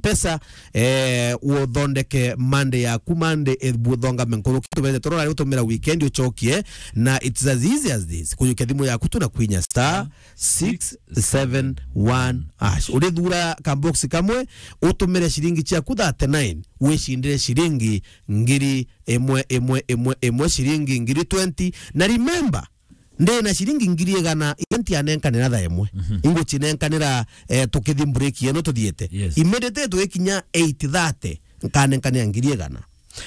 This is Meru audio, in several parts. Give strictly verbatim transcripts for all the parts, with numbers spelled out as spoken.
Pesa, eh, uthondeke Monday yaku, Monday, eh, buthongame nkuruki, tubete toro rari utumira weekend uchokie, na it's as easy as this. Kujukia thimu yaku tu na kwinya star six seven one hash. Urithura ka box kamwe, utumire ciringi ciaku thirty-nine, wicindire ciringi ngiri imwe, imwe, imwe, imwe, ciringi ngiri twenty. Na remember, ndi na ciringi ngiri igana, iria ntianenkanira thaa imwe. Mhm. Ingucinenkanira, eh, tukithi break yeno tuthiete. Yes. Immediately twikinya eight thirty, nkanenkanira ngiri igana.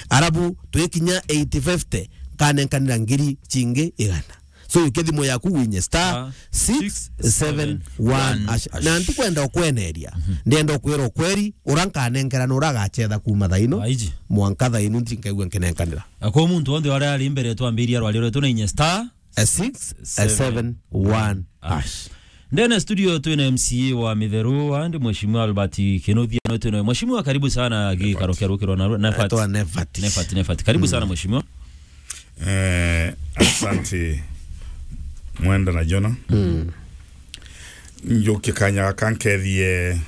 Arabu twikinya eight fifty, nkanenkanira ngiri cingi igana. So, yukia thimu yaku winye star Ah, six seven one hash. Na ntikwenda ukweneria. Mhm. Ndienda ukwira ukweri, ura nkanenkera na ura agachetha kuma thaino. Aiji. Mwanka thaino ntinkaigua nkinenkanira. Akwa muntu wonthe uria ari mbere twambiria rwario rwetu na inye star A six, a seven, one hash. Ndene studio twina M C A wa Mitheru, andi Mheshimiwa Albert Kinuthia, no twina Mheshimiwa, karibu sana gikaro kia rukiro na Nefat. Etwa Nefat. Nefat, Nefat. Karibu sana Mheshimiwa. Eh, asante. Mwenda na Jona. Mm. Njukie kanya gaka nkethie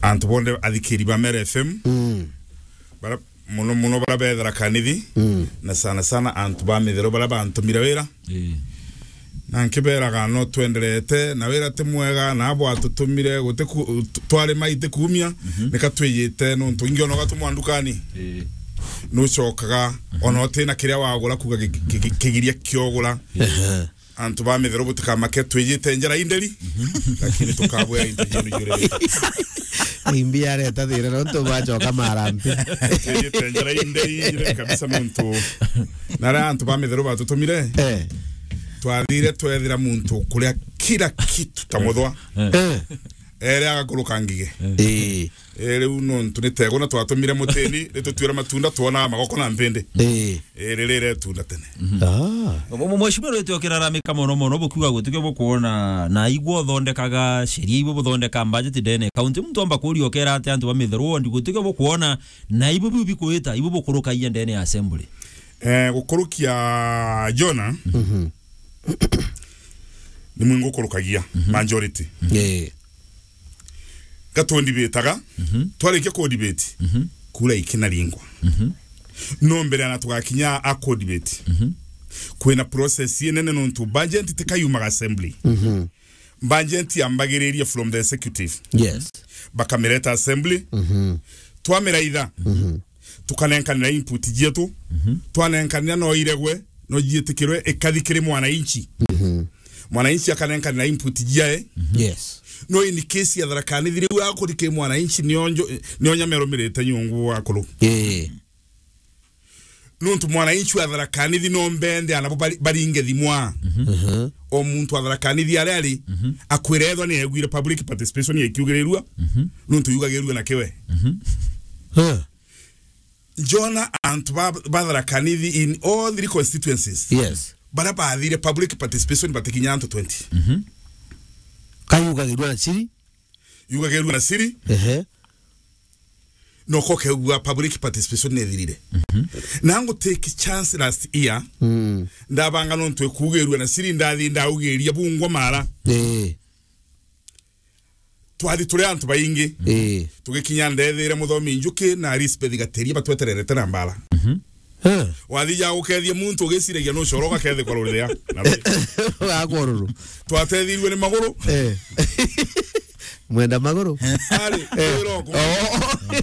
antu bonthe athikiri ba Meru F M. Mm. Bara muno muno bara bethera kanithi, mm, na sana sana antu ba Mitheru bara bantumire wira. Ii. Na nkiberaga no twenderete na wira ti mwega, na abo atutumire guti ku-, tu-, twari mai ti kuumia, mhm, nika twijite nuntu ingi ona ugatumwa ndukani. Ii. Nucokaga, mhm, ona utina kiria wagura kuga ki-, ki-, ki-, kigiria kiogura. Ii. Ehe. Antu ba Mitheru butikamake, twijite njara inderi, mhm, lakini tukabwea into jenu jurerete. Imbi areta thira nontu bacoka marambi. Twijite njara inderi jure kabisa nontu. Na aria antu ba Mitheru batutumire, eh, twathire twethira muntu kuria kila kitu ta muthwa. Eh. Eh. Ere agakuruka ngige. Eh. Eh. Eh, riu nontu ni tegwa na twatumire mutini, ritutwira matunda, twona magoko na mpindi. Eh. Eh, riri retunda tene. Mhm. Ah. Mu-, mu-, mheshimiwa, rwite ukiraramika mono mono, bukiuga gutikio bukuona na igwe uthondekaga sheria, ibwe buthondeka budget ndene county. Muntu amba kuria ukera ati antu ba Mitheru ward gutikio bukuona na ibwe biu bikuita, ibwe bukurukagia ndene ya assembly? Eh, gukurukia Jona, mhm, ni mwingi ukurukagia, mhm, majority. Eh. Gatwendibitaga, mhm, twarikia kudibate, mhm, kura ikinaringwa. Mhm. No mbere ana tugakinya a kudibate, mhm, kwina process inene nontu budget tikayumaga assembly. Mhm. Budget yambagiriria from the executive. Yes. Bakamireta assembly. Mhm. Twamiraitha. Mhm. Tukanenkanira input jietu. Mhm. Twanenkanira no iregwe, no jietikirwe, ikathi kiri mwananchi. Mhm. Mwananchi akanenkanira input jiae. Mhm. Yes. No in case ya Tharaka Nithi riu akuri ki mwananchi nionjo, nionya merumirite nyungu akuru. Eh. Nuntu mwananchi wa Tharaka Nithi no mbende anabo bari-, baringe thimwa. Mhm. Mhm. O muntu wa Tharaka Nithi aria ari, mhm, akwira ethwa ni egwire public participation ikiugirirua. Mhm. Nuntu yugagirua na kiwe. Mhm. Huh. Njona antu ba, ba Tharaka Nithi in all three constituencies. Yes. Bara bathire public participation batikinya antu twenty. Mhm. Kayugagirua na chiri? Yugagirua na chiri. Ehe. No kokegua public participation nethirire. Mhm. Na ngu take chance last year. Mm. Ndabanga nontu ekugirua na chiri ndathi ndaugiria bungwa mara. Eh. Twathi turi antu baingi. Ii. Tugikinya ndethire Muthomi Njuki na Elizabeth Gateria batwetererete na mbara. Mhm. Eh. Wathi ja gukethia muntu ugiciragia nucoro ugakethikwa ruria. Na ruri. Wa kururu. Twatethirue ni maguru. Eh. Mwenda maguru? Ari, eh, rwiro ku. Oh.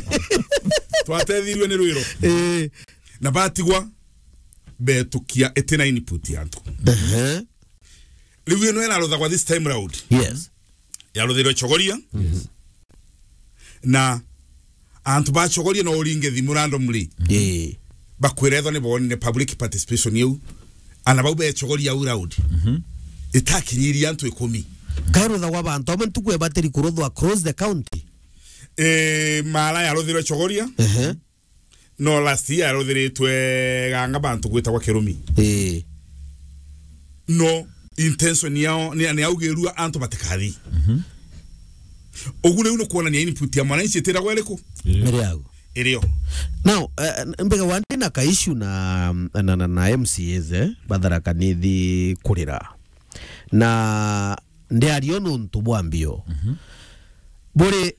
Twatethirue ni rwiro. Eh. Na batigwa betukia itina input ya antu. Ehe. Riu ino iraruthagwa this time round. Yes. Yaruthirwe Chogoria. Yes. Na antu ba Chogoria no uringe thimu randomly. Ii. Bakwira ethwa ni bonire public participation iu. Ana bau be Chogoria au round. Mhm. Itakinyirie antu ikumi. Kairuthagwa bantu amwe ntuku ebatiri kuruthwa across the county. Eh, mara yaruthirwe Chogoria. Ehe. No last year yaruthiritwe ganga bantu gwitagwa Kirumi. Ii. No intention yao ni, ni augirua antu batikathi. Mhm. Ugu riu ni kuonania input ya mwananchi itiragwa iriku? Ii. Miri yagu. Irio. Now, eh, mbega wandi na ka issue na, na, na, na M C As, eh, ba Tharaka Nithi kurira. Na ndiario nuntu bwa mbio. Mhm. Buri